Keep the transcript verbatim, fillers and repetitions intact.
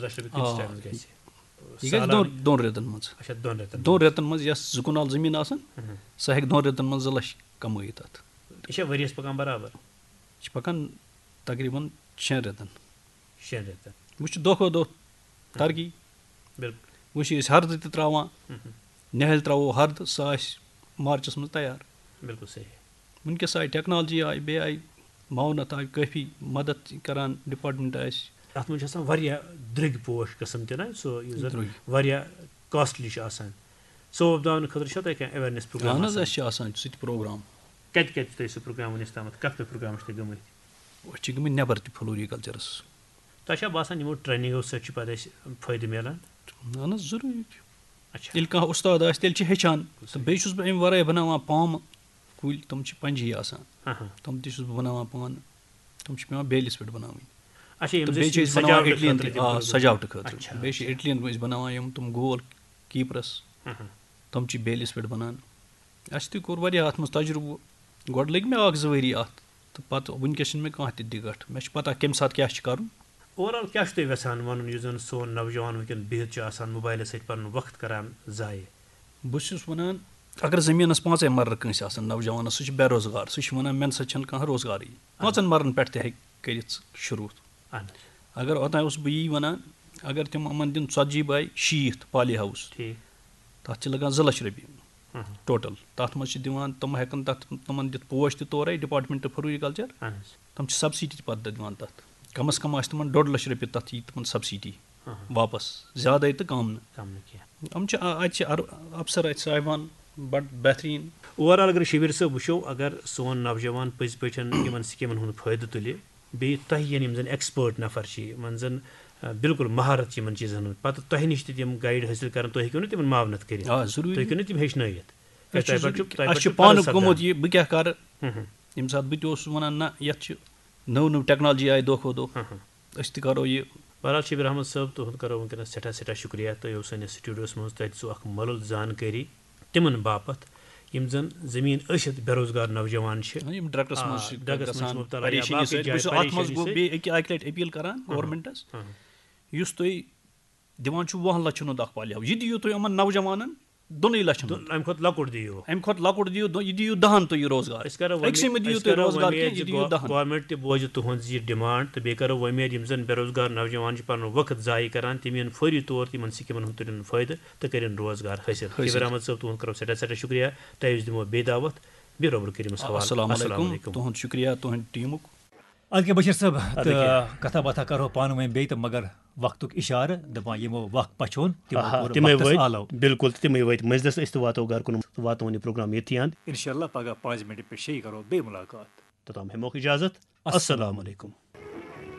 لَچھ رۄپیہِ کۭتِس آ، ٹایمَس گژھِ؟ یہِ گژھِ سالانہٕ؟ دۄن دۄن رٮ۪تَن منٛز۔ اچھا، دۄن رٮ۪تَن دۄن منٛز۔ رٮ۪تَن منٛز یۄس زٕ کنال زٔمیٖن آسان، مہم۔ سۄ ہٮ۪کہِ دۄن رٮ۪تَن منٛز زٕ لَچھ کَمٲیِتھ اَتھ۔ یہِ چھا ؤریَس پَکان برابر؟ یہِ چھِ پَکان تقریٖباً شٮ۪ن رٮ۪تَن۔ شٮ۪ن رٮ۪تَن۔ وۄنۍ چھِ دۄہ کھۄتہٕ دۄہ ترقی۔ بِلکُل۔ وۄنۍ چھِ أسۍ ہردٕ تہِ ترٛاوان۔ مہم۔ نِہٲلۍ ترٛاوو ہردٕ، سۄ آسہِ مارچَس منٛز تیار۔ بِلکُل صحیح۔ وٕنکیٚس آیہِ ٹیکنالجی آیہِ، بیٚیہِ آیہِ معاونت آیہِ کٲفی مدد کران ڈپارٹمنٹ آسہِ۔ اَتھ منٛز چھِ آسان واریاہ درٛوٚگۍ پوش قٕسم تہِ نہ، سُہ یُس زَن درٛوٚگۍ۔ واریاہ کاسٹلی چھُ آسان۔ سُہ وۄپداونہٕ خٲطرٕ چھا تۄہہِ کانٛہہ awareness program اہن حظ، آسان؟ اَسہِ چھِ آسان سُہ تہِ پروگرام۔ کَتہِ کَتہِ چھُ تۄہہِ سُہ پروگرام وٕنیُک تامَتھ؟ کَتھ کَتھ پروگرام چھِ تۄہہِ گٔمٕتۍ؟ أسۍ چھِ گٔمٕتۍ نٮ۪بر تہِ فلوریکلچرس۔ تۄہہِ چھا باسان یِمو ٹریننگو سۭتۍ چھِ پَتہٕ اَسہِ فٲیدٕ میلان؟ اہن حظ، ضروٗری چھُ۔ اچھا۔ ییٚلہِ کانٛہہ اُستاد آسہِ، تیٚلہِ چھِ ہیٚچھان۔ تہٕ بیٚیہِ چھُس بہٕ اَمہِ وَرٲے بَناوان پامہٕ کُلۍ، تِم چھِ پنٛجی آسان۔ ہاں، ہاں۔ تِم تہِ چھُس بہٕ بَناوان پانہٕ۔ تِم چھِ پٮ۪وان بیلِس پٮ۪ٹھ بَناوٕنۍ۔ اچھا، یِم تہٕ زَن بیٚیہِ چھِ أسۍ بَناوان سجاوٹہٕ اِٹلِیَن خٲطرٕ تہِ، تِم آ، بَناوان۔ سجاوٹہٕ خٲطرٕ۔ اچھا، بیٚیہِ چھِ اچھا۔ اِٹلِیَن أسۍ بَناوان یِم تِم گول کیٖپرَس۔ ہاں، ہاں۔ تِم چھِ بیلِس پٮ۪ٹھ بَنان۔ اَسہِ تہِ کوٚر واریاہ اَتھ منٛز تَجرُبہٕ۔ گۄڈٕ لٔگۍ مےٚ اَکھ زٕ ؤری اَتھ، تہٕ پَتہٕ وٕنکیٚس چھِنہٕ مےٚ کانٛہہ تہِ دِقت۔ مےٚ چھِ پَتہ کَمہِ ساتہٕ کیٛاہ چھِ کَرُن۔ اوور آل کیٛاہ چھُ تۄہہِ یَژھان وَنُن، یُس زَن سون نوجوان وٕنکیٚن بِہِتھ چھُ آسان موبایلَس سۭتۍ پَنُن وقت کَران ضایع؟ بہٕ چھُس وَنان، اگر زٔمیٖنَس پانٛژَے مَرلہٕ کٲنٛسہِ آسَن نوجوانَس، سُہ چھُ بے روزگار، سُہ چھُ وَنان، مےٚ نہ سا چھَنہٕ کانٛہہ روزگارٕے۔ پانٛژَن مَرلَن پٮ۪ٹھ تہِ ہیٚکہِ کٔرِتھ شروٗع۔ اہن حظ۔ اگر اوٚتام اوسُس بہٕ یی وَنان، اگر تِم یِمَن دِن ژَتجی باے شیٖتھ پالی ہاوُس، ٹھیٖک۔ تَتھ چھِ لَگان زٕ لَچھ رۄپیہِ ہاں، ہاں۔ ٹوٹل۔ تَتھ منٛز چھِ دِوان، تِم ہٮ۪کَن تَتھ، تِمَن دِتھ پوش تہِ تورَے، ڈپارٹمنٹ فروریکلچر۔ اہن حظ۔ تِم چھِ سبسڈی تہِ پَتہٕ دِوان تَتھ۔ کم از کم آسہِ تِمَن ڈۄڈ لَچھ رۄپیہِ تَتھ یی تِمَن سبسڈی ہاں، ہاں۔ واپَس، زیادَے تہٕ کَم نہٕ۔ کَم نہٕ کینٛہہ۔ یِم چھِ، آ، اَتہِ چھِ اَر-، افسر اَتہِ صاحبان بَڑٕ بہتریٖن۔ اوور آل اگر شبیر صٲب وٕچھو، اگر سون نوجوان پٔزۍ پٲٹھۍ یِمَن سکیٖمَن ہُنٛد فٲیدٕ تُلہِ، بیٚیہِ تۄہہِ یِن یِم زَن ایکسپٲرٹ نفر چھِ، یِمَن زَن، آ، بالکل مہارت چھِ یِمَن چیٖزَن ہُنٛد، پَتہٕ تۄہہِ نِش تہِ تِم گایڈ حٲصِل کَرَن، تُہۍ ہیٚکِو نہٕ تِمَن معاونت کٔرِتھ۔ آ، ضروٗری۔ تُہۍ ہیٚکِو نہٕ تِم ہیٚچھنٲیِتھ۔ اَسہِ تۄہہِ چھُ پٮ۪ٹھ چھُ، تۄہہِ اَسہِ پٮ۪ٹھ چھُ چھُ پانہٕ فرض گوٚمُت سپدان۔ یہِ، بہٕ کیٛاہ کَرٕ؟ ہُم، ہُم۔ ییٚمہِ ساتہٕ بہٕ تہِ اوسُس وَنان، نہ، یَتھ چھِ نٔو نٔو ٹیکنالجی آیہِ دۄہ کھۄتہٕ دۄہ۔ ہُم، ہُم۔ أسۍ تہِ کَرو یہِ۔ بہرحال، شبیر احمد صٲب، تُہُنٛد کَرو وٕنکیٚنَس سٮ۪ٹھاہ، سٮ۪ٹھاہ شُکریہ۔ تۄہہِ اوس سٲنِس سٹوڈیوَس منٛز، تۄہہِ دِژوٕ اَکھ مۄلُل زانکٲری تِمَن باپَتھ، یِم زَن زٔمیٖن ٲسِتھ بے روزگار نوجوان چھِ۔ یِم ڈرگس آ، منٛز چھِ ڈرگس منٛز چھِ گژھان مُبتلا یا پریشٲنی باقٕے سۭتۍ۔ بہٕ جایہِ چھُس اَتھ منٛز پریشٲنی گوٚو سۭتۍ۔ بیٚیہِ أکیٛاہ اَکہِ لَٹہِ اپیٖل کَران ہاں، ہاں۔ گورمنٹَس، ہاں، ہاں۔ یُس تُہۍ دِوان چھُو وُہَن لَچھَن ہُنٛد اَکھ پالی ہاوُس، یہِ دِیِو تُہۍ یِمَن نوجوانَن دۄنٕے لَچھَن تہٕ ہُنٛد۔ اَمہِ کھۄتہٕ لۄکُٹ دِیِو۔ اَمہِ کھۄتہٕ لۄکُٹ دِیِو، دۄ-، یہِ دِیِو دَہَن تُہۍ یہِ روزگار۔ أسۍ کَرو أکسٕے وۄمید، مہٕ دِیِو أسۍ تُہۍ کَرو روزگار وۄمید کینٛہہ، زِ یہِ دِیِو گو-، دَہَن۔ گورمنٹ تہِ بوزِ تُہُنٛد یہِ ڈِمانڈ تہٕ بیٚیہِ کَرو وۄمید، یِم زَن بے روزگار نوجوان چھِ پَنُن وقت ضایع کَران، تِم یِن فوری طور تہٕ یِمَن سکیٖمَن ہُنٛد تُلِن فٲیدٕ تہٕ کٔرِن روزگار حٲصِل۔ حٲصِل۔ شبیر احمد صٲب، تُہُنٛد کَرو سٮ۪ٹھاہ سٮ۪ٹھاہ شُکریہ۔ تۄہہِ أسۍ دِمو بیٚیہِ دعوت، بیٚیہِ رۄبہٕ کریٖمَس حوالہٕ۔ السلام السلام علیکم۔ علیکم۔ تُہُنٛد شُکریہ، تُہٕنٛدِ ٹیٖمُک۔ اَدٕ کیٛاہ بشیٖر صٲب، اَدٕ تہٕ کیٛاہ۔ کَتھا باتھا کَرو پانہٕ ؤنۍ بیٚیہِ تہٕ، مگر وقتُک اِشارٕ دَپان یِمو وقت پَچھون، تِمو آہا، کوٚر تِمَے وقتَس وٲتۍ، آلو۔ بِلکُل، تہٕ تِمَے وٲتۍ مٔنٛزلَس، أسۍ تہِ واتو گَرٕ کُن، واتناوون یہِ پروگرام ییٚتھی اَنٛد۔ اِنشاءاللہ پَگاہ پانٛژِ مِنٹہِ پٮ۪ٹھ شیٚیہِ کَرو بیٚیہِ مُلاقات۔ توٚتام ہٮ۪موکھ اِجازت۔ السلام السلام علیکم۔